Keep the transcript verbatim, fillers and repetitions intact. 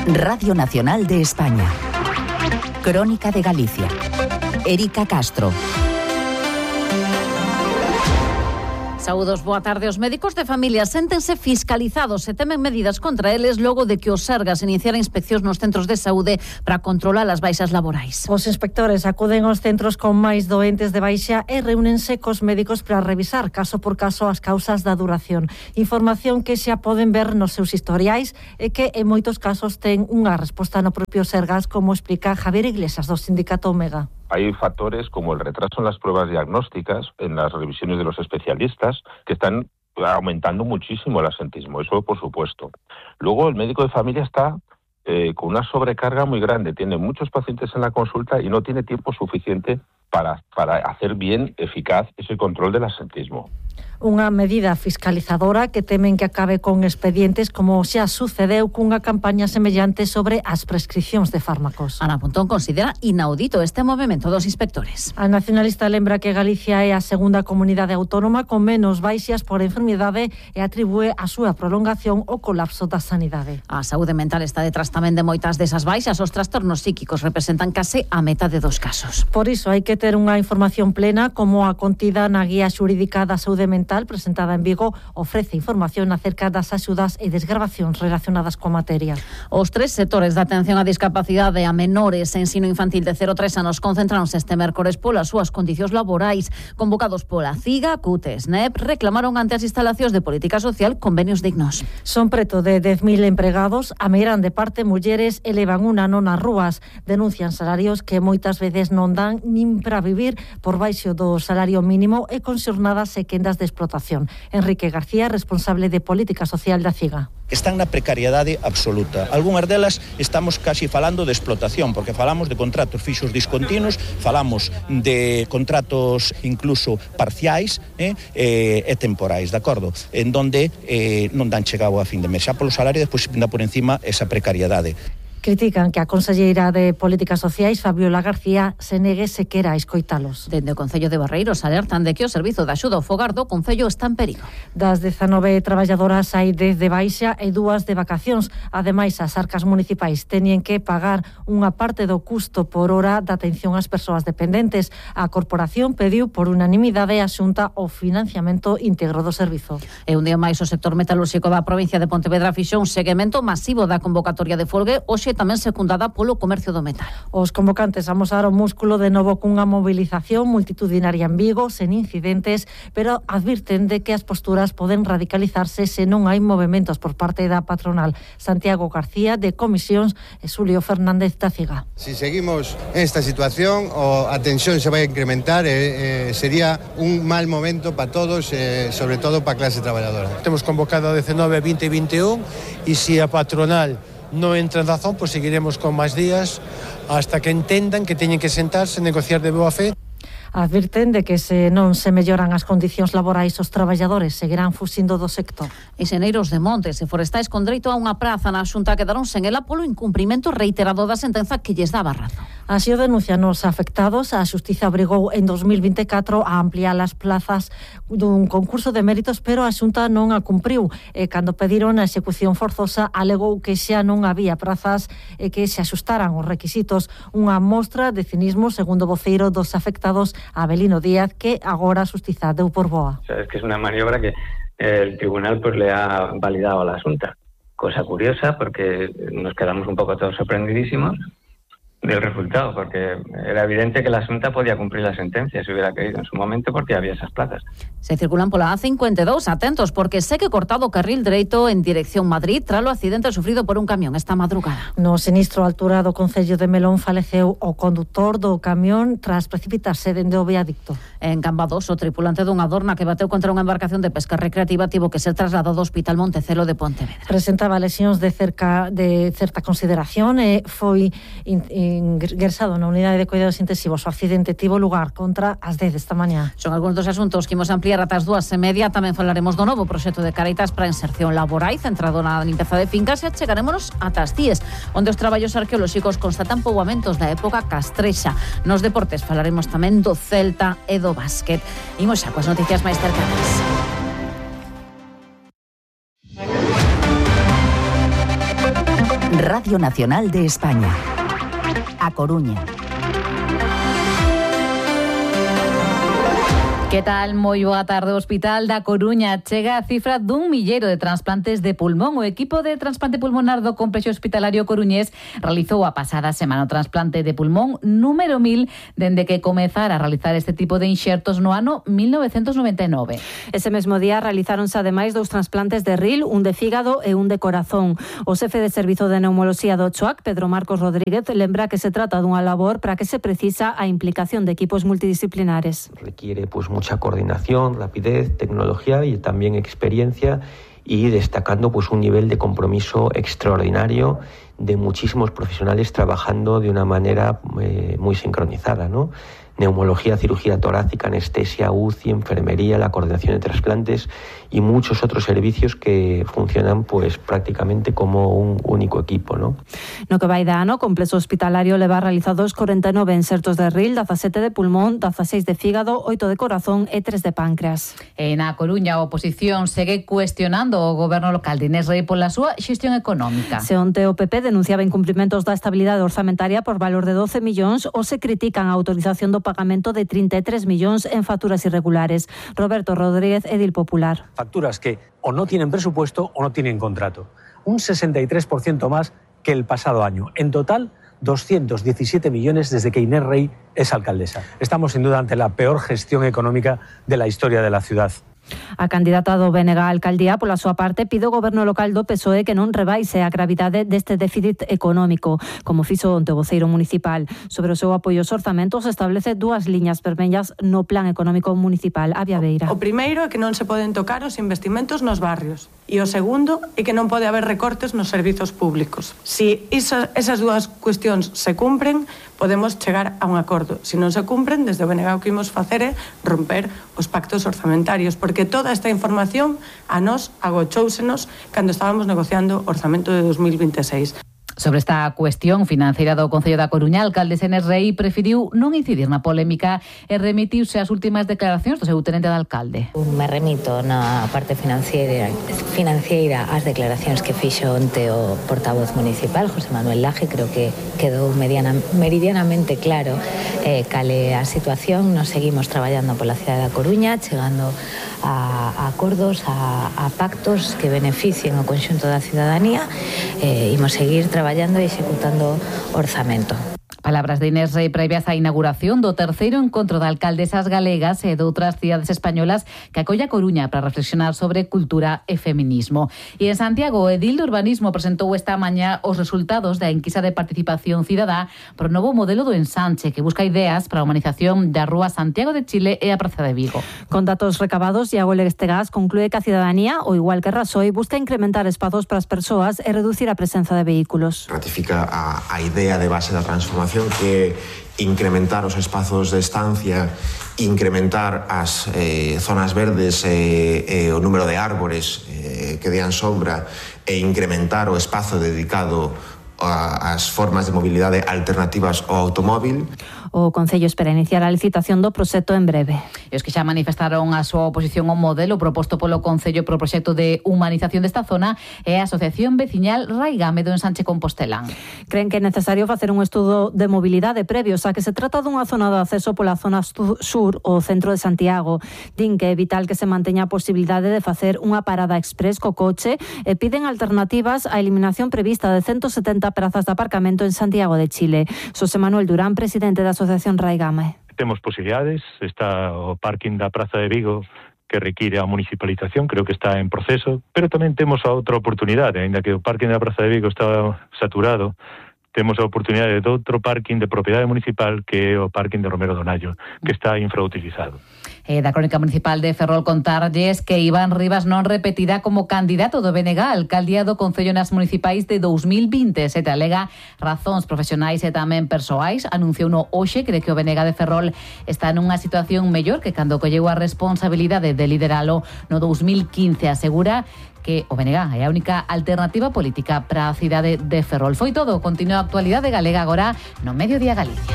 Radio Nacional de España. Crónica de Galicia. Erika Castro. Saúdos, boa tarde. Os médicos de familia séntense fiscalizados e temen medidas contra eles logo de que os Sergas iniciaran inspeccións nos centros de saúde para controlar as baixas laborais. Os inspectores acuden aos centros con máis doentes de baixa e reúnense cos médicos para revisar caso por caso as causas da duración. Información que xa poden ver nos seus historiais e que en moitos casos ten unha resposta no propio Sergas, como explica Javier Iglesias do Sindicato Omega. Hay factores como el retraso en las pruebas diagnósticas, en las revisiones de los especialistas, que están aumentando muchísimo el absentismo, eso por supuesto. Luego el médico de familia está eh, con una sobrecarga muy grande, tiene muchos pacientes en la consulta y no tiene tiempo suficiente para, para hacer bien, eficaz ese control del absentismo. Unha medida fiscalizadora que temen que acabe con expedientes como xa sucedeu cunha campaña semellante sobre as prescripcións de fármacos. Ana Pontón considera inaudito este movimento dos inspectores. A nacionalista lembra que Galicia é a segunda comunidade autónoma con menos baixas por enfermidade e atribúe a súa prolongación ao colapso da sanidade. A saúde mental está detrás tamén de moitas desas baixas. Os trastornos psíquicos representan case a metade dos casos. Por iso hai que ter unha información plena, como a contida na Guía Xurídica da Saúde Mental presentada en Vigo, ofrece información acerca das axudas e desgravacións relacionadas coa materia. Os tres sectores de atención á discapacidade a menores e ensino infantil de cero a tres anos concentráronse este mércores polas súas condicións laborais. Convocados pola CIGA, CUT e SNEP, reclamaron ante as instalacións de política social convenios dignos. Son preto de dez mil empregados, a meirán de parte mulleres, elevan un ano nas rúas. Denuncian salarios que moitas veces non dan nin para vivir por baixo do salario mínimo e con xornadas e quendas de explotación. Enrique García, responsable de Política Social da CIGA. Están na precariedade absoluta. Algúnas delas estamos casi falando de explotación, porque falamos de contratos fixos discontinuos, falamos de contratos incluso parciais eh, e temporais, de acordo? En donde eh, non dan chegado a fin de mes. Xa polo salario, despois pinda por encima esa precariedade. Critican que a conselleira de Políticas Sociais, Fabiola García, se negue sequera a escoitalos. Dende o Concello de Barreiros alertan de que o servizo de axuda ao fogar do Concello está en perigo. Das dezanove traballadoras hai dez de baixa e dúas de vacacións. Ademais, as arcas municipais teñen que pagar unha parte do custo por hora da atención ás persoas dependentes. A corporación pediu por unanimidade a Xunta o financiamento íntegro do servizo. E un día máis o sector metalúrxico da provincia de Pontevedra fixou un seguimento masivo da convocatoria de folgue, hoxe tamén secundada polo comercio do metal. Os convocantes amosaron músculo de novo cunha movilización multitudinaria en Vigo, sen incidentes, pero advirten de que as posturas poden radicalizarse se non hai movementos por parte da patronal. Santiago García, de Comisións, e Xulio Fernández da CIGA. Si seguimos esta situación, o a tensión se vai a incrementar e eh, sería un mal momento para todos, eh, sobre todo para a clase traballadora. Temos convocado a dezenove, vinte e vinte e un e se a patronal non entra en razón, pois seguiremos con máis días hasta que entendan que teñen que sentarse e negociar de boa fe. Advirten de que se non se melloran as condicións laborais, os traballadores seguirán fuxindo do sector. Enxeneiros de Montes e forestais con dereito a unha praza na Xunta quedaron sen ela polo incumprimento reiterado da sentenza que lles daba razón. Así o denuncian os afectados. A Xustiza obrigou en dos mil vinte e catro a ampliar as plazas dun concurso de méritos, pero a Xunta non a cumpriu. E cando pediron a execución forzosa, alegou que xa non había prazas e que se axustaran os requisitos. Unha mostra de cinismo, segundo o voceiro dos afectados, Abelino Díaz, que agora a Xustiza deu por boa. O sea, es que es una maniobra que el tribunal pues le ha validado a la Xunta. Cosa curiosa, porque nos quedamos un poco todos sorprendidísimos del resultado, porque era evidente que la Xunta podía cumplir la sentencia si hubiera querido en su momento, porque había esas plazas. Se circulan pola A cincuenta e dous, atentos, porque segue cortado o carril dereito en dirección Madrid tras o accidente sufrido por un camión esta madrugada. No sinistro altura do Concello de Melón faleceu o condutor do camión tras precipitarse dende o viadicto. En Cambados, o tripulante dunha dorna que bateu contra unha embarcación de pesca recreativa tivo que ser trasladado ao Hospital Montecelo de Pontevedra. Presentaba lesións de cerca de certa consideración e foi in, ingresado na unidade de cuidados intensivos. O accidente tivo lugar contra as dez desta mañá. Son algúns dos asuntos que imos ampliar ata as dúas e media. Tamén falaremos do novo proxecto de Caritas para a inserción laboral centrado na limpeza de fincas e chegarémonos ata as Cíes, onde os traballos arqueolóxicos constatan poboamentos da época castrexa. Nos deportes falaremos tamén do Celta e do básquet. Imos xa coas noticias máis cercanas. Radio Nacional de España. A Coruña. Que tal? Moi boa tarde. O Hospital da Coruña chega a cifra dun milleiro de trasplantes de pulmón. O equipo de trasplante pulmonar do Complexo Hospitalario coruñés realizou a pasada semana o trasplante de pulmón número mil dende que comezara a realizar este tipo de inxertos no ano mil novecentos noventa e nove. Ese mesmo día realizáronse ademais dous trasplantes de ril, un de fígado e un de corazón. O xefe de Servizo de Neumoloxía do Choac, Pedro Marcos Rodríguez, lembra que se trata dunha labor para que se precisa a implicación de equipos multidisciplinares. Requiere pues mucha coordinación, rapidez, tecnología y también experiencia, y destacando pues un nivel de compromiso extraordinario de muchísimos profesionales trabajando de una manera eh, muy sincronizada, ¿no? Neumología, cirugía torácica, anestesia, U C I, enfermería, la coordinación de trasplantes y muchos otros servicios que funcionan pues prácticamente como un único equipo, ¿no? No que vai de ano, o Complexo Hospitalario leva realizados corenta e nove insertos de ril, dezasete de pulmón, dezaseis de fígado, oito de corazón e tres de páncreas. En A Coruña, a oposición segue cuestionando o goberno local de Inés Rei pola súa xestión económica. Se onte o P P denunciaba incumprimentos da estabilidade orzamentaria por valor de doce millóns, ou se critican a autorización do pagamento de trinta e tres millóns en facturas irregulares. Roberto Rodríguez, edil popular. Facturas que o no tienen presupuesto o no tienen contrato. Un sesenta y tres por ciento más que el pasado año. En total, doscientos diecisiete millones desde que Inés Rei es alcaldesa. Estamos sin duda ante la peor gestión económica de la historia de la ciudad. A candidata do B N G á alcaldía, pola súa parte, pide ao goberno local do P S O E que non rebaise a gravidade deste déficit económico, como fixo onte o voceiro municipal. Sobre o seu apoio aos orzamentos, establece dúas liñas vermellas no plan económico municipal. Avia Beira. O primeiro é que non se poden tocar os investimentos nos barrios. E o segundo é que non pode haber recortes nos servizos públicos. Si esa, esas dúas cuestións se cumpren, podemos chegar a un acordo. Se non se cumpren, desde o B N G o que imos facer é romper os pactos orzamentarios, porque toda esta información a nós agochóusenos cando estábamos negociando o orzamento de dos mil vinte e seis. Sobre esta cuestión financeira do Concello da Coruña, a alcaldesa Inés Rei preferiu non incidir na polémica e remitiuse ás últimas declaracións do seu tenente de alcalde. Me remito na parte financiera, financiera ás declaracións que fixo onte o portavoz municipal, José Manuel Laje. Creo que quedou mediana, meridianamente claro eh, cale a situación. Nos seguimos traballando pola cidade da Coruña, chegando a, a acordos, a, a pactos que beneficien o conxunto da cidadanía. Eh, imos seguir traballando e executando orzamento. Palabras de Inés Rei previas á inauguración do terceiro encontro de alcaldesas galegas e de outras cidades españolas que acolla Coruña para reflexionar sobre cultura e feminismo. E en Santiago, o edil de urbanismo presentou esta mañá os resultados da enquisa de participación cidadá para o novo modelo do ensanche que busca ideas para a humanización da Rúa Santiago de Chile e a Praza de Vigo. Con datos recabados, Iago Leguestegas conclúe que a cidadanía, o igual que Rasoy, busca incrementar espazos para as persoas e reducir a presenza de vehículos. Ratifica a, a idea de base da transformación, que incrementar os espazos de estancia, incrementar as eh, zonas verdes e eh, eh, o número de árbores eh, que dean sombra e incrementar o espazo dedicado ás formas de mobilidade alternativas ao automóvil. O Concello espera iniciar a licitación do proxecto en breve. E os que xa manifestaron a súa oposición ao modelo proposto polo Concello pro proxecto de humanización desta zona é a Asociación Veciñal Raigame do Ensanche Compostelán. Creen que é necesario facer un estudo de mobilidade previo, xa que se trata dunha zona de acceso pola zona sur ou centro de Santiago. Din que é vital que se manteña a posibilidade de facer unha parada express co coche e piden alternativas á eliminación prevista de ciento setenta prazas de aparcamento en Santiago de Chile. Xosé Manuel Durán, presidente da Asociación Raigame. Temos posibilidades, está o parking da Praza de Vigo que require a municipalización, creo que está en proceso, pero tamén temos a outra oportunidade, aínda que o parking da Praza de Vigo está saturado, temos a oportunidade de outro parking de propiedade municipal que é o parking de Romero Donayo, que está infrautilizado. Eh, da Crónica Municipal de Ferrol contarlles que Iván Rivas non repetirá como candidato do B N G á alcaldía do Concello nas municipais de dos mil veintesete. Alega razóns profesionais e tamén persoais. Anunciou no hoxe que de que o B N G de Ferrol está nunha situación mellor que cando colleu a responsabilidade de lideralo no dos mil quince. Asegura que o B N G é a única alternativa política para a cidade de Ferrol. Foi todo. Continúa a actualidade galega agora no Mediodía Galicia.